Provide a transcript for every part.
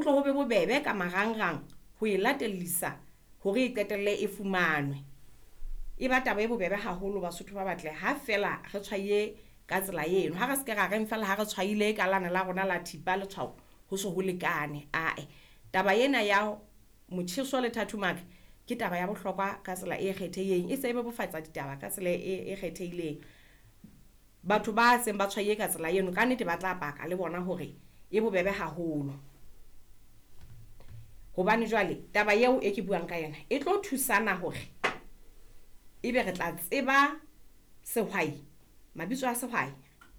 Ho tlo ho be bobebe ka marangrang ho e latellisa hore e qetelle e fumanwe. E ba taba e bobebe haholo Basotho ba batle ha feela re tshwaiye ka tsela eno. Ha re se ke ra reng feela ha re tshwaile ka lane la rona la thipa letshwao ho so ho lekane ae. Taba ena ya motjheso le thatommaka ke taba ya bohlokwa ka tsela e kgethehileng, e se e bebofatsa ditaba ka tsela e kgethehileng. Batho ba seng ba tshwaiye ka tsela eno ka nnete ba tla paka le bona hore e bobebe haholo. Hobane jwale taba eo e ke buang ka yona e tlo thusana hore ebe re tla tseba sehwai, mabitso a sehwai,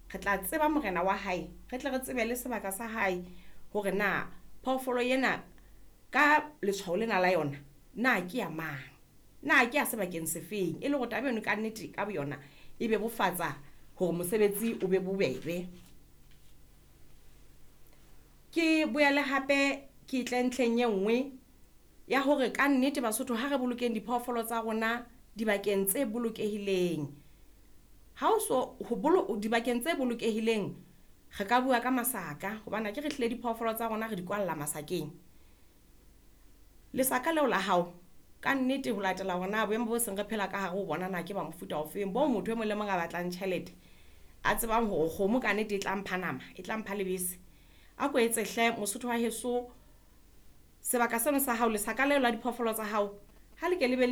re tla tseba morena wa hae, re tle re tsebe le sebaka sa hae hore na phoofolo ena ka letshwao lena la yona na ke ya mang, na ke ya sebakeng se feng. E le hore taba eno kannete ka boyona e bebofatsa hore mosebetsi o be bobebe. Ke boele hape ke tle ntlheng e ngwe ya hore kannete Basotho ha re bolokeng diphoofolo tsa rona dibakeng tse bolokehileng. Ha o so ho dibakeng tse bolokehileng re ka bua ka masaka hobane akere hlile diphoofolo tsa rona re di kwalla masakeng. Lesaka leo la hao kannete ho latela hore na boemo bo seng re phela ka hare ho bona na ke ba mofuta ofeng, bo motho e mong le mong a batlang tjhelete a tsebang hore kgomo kannete e tla mpha nama, e tla mpha lebese. A ko etse hle Mosotho wa heso sebaka seno sa hao lesaka leo la diphoofolo tsa hao ha le ke le be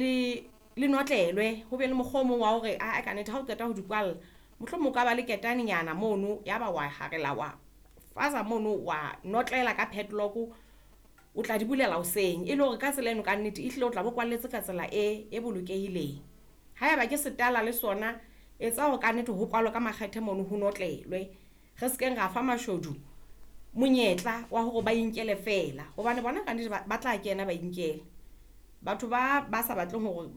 le notlelwe ho be le mokgwa o mong wa hore aa kannete ha o qeta ho di kwalla, mohlomong o ka ba le ketanenyana mono ya ba wa harela wa faza mono wa notlela ka padlock o tla di bulela hoseng. E le hore ka tsela eno kannete ehlile o tla bo kwalletse ka tsela e bolokehileng. Haeba ke setala le sona etsa hore kannete ho kwalwe ka makgethe mono ho notlelwe. Re se keng ra fa mashodu monyetla wa hore ba inkele feela hobane bona kannete ba tla kena ba inkele. Batho ba sa batleng hore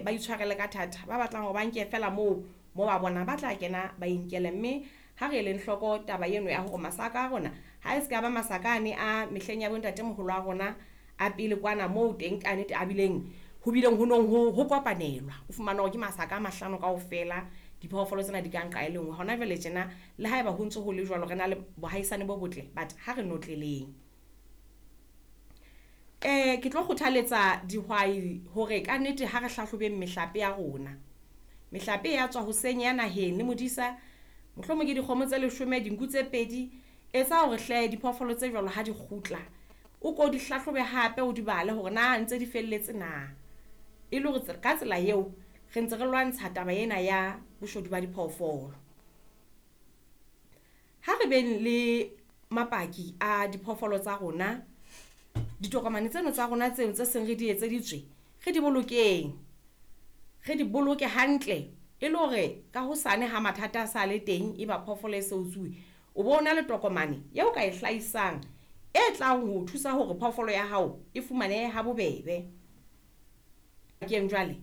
ba itshwarele ka thata, ba batlang hore ba nke feela moo mo ba bonang ba tla kena ba inkele. Mme ha re eleng hloko taba eno ya hore masaka a rona ha e se ka ba masaka ane a mehleng ya bo ntatemoholo wa rona a pele kwana moo teng kannete a bileng ho bileng ho nong ho kopanelwa. O fumane hore ke masaka a mahlano kaofela diphoofolo tsena di ka nqa e le ngwe. Hona jwale tjena le haeba ho ntso ho le jwalo re na le bohaisane bo botle but ha re notleleng. Ke tlo kgothaletsa dihwai hore kannete ha re hlahlobeng mehlape ya rona. Mehlape ya tswa hoseng ya naheng le modisa, mohlomong ke dikgomo tse 10, dinku tse 2. Etsa hore hle diphoofolo tse jwalo ha di kgutla, o ko di hlahlobe hape o di bale hore na ntse di felletse na. E le hore ka tsela eo re ntse re lwantsha taba ena ya boshodu ba diphoofolo. Ha re beng le mapaki a diphoofolo tsa rona, ditokomane tseno tsa rona tseo tse seng re di etseditswe, re di bolokeng. Re di boloke hantle e le hore ka hosane ha mathata a sa le teng e ba phoofolo e se utsuwe, o bo na le tokomane eo ka e hlahisang e tlang ho thusa hore phoofolo ya hao e fumanehe ha bobebe. Keng jwale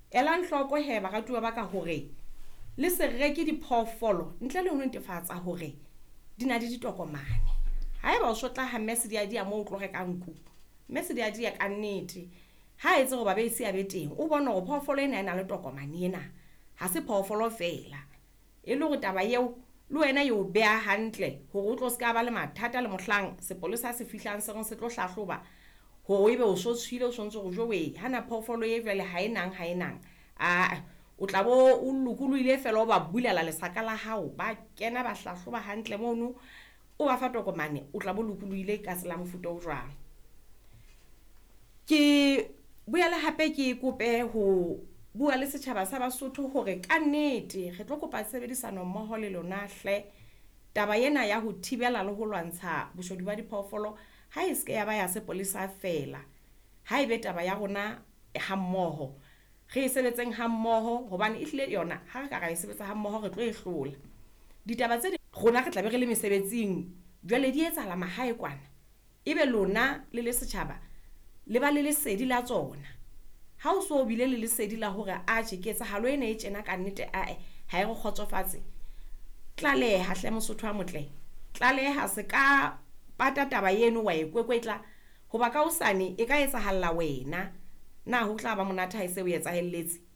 elang hloko he baratuwa ba ka hore le se reke diphoofolo ntle le ho netefatsa hore di na le ditokomane. Haeba o so tla ha mme Sediadia moo o tlo reka nku, mme Sediadia kannete ha etse hore babeisi a be teng, o bone hore phoofolo ena e na le tokomane ena, ha se phoofolo feela. E le hore taba eo le wena e o beha hantle hore o tlo ska ba le mathata le mohlang sepolesa se fihlang se reng se tlo hlahloba hore ebe o so tshohile, o sontso hore jowe hana phoofolo e jwale ha e nang ha e nang. Aa o tla bo o lokolohile feela o ba bulela lesaka la hao, ba kena ba hlahloba hantle mono, o ba fa tokomane, o tla bo lokolohile ka tsela ya mofuta o jwang. Ke boele hape ke kope ho bua le setjhaba sa Basotho hore kannete re tlo kopa tshebedisano mmoho le lona hle. Taba ena ya ho thibela le ho lwantsha boshodu ba diphoofolo ha e se ke ya ba ya sepolesa feela, ha ebe taba ya rona ha mmoho. Re e sebetseng ha mmoho hobane ehlile yona ha re ka ra e sebetsa ha mmoho re tlo e hlola. Ditaba tse ding rona re tla be re le mesebetsing jwale di etsahala mahae kwana, ebe lona le le setjhaba le ba le lesedi la tsona. Ha o so bile le lesedi la hore atjhe ketsahalo ena e tjena kannete ae ha e re kgotsofatse, tlaleha hle Mosotho a motle, tlaleha se ka pata taba eno wa e kwekwetla hoba ka hosane e ka etsahalla wena. Na ho tla ba monate ha e se o etsahelletse?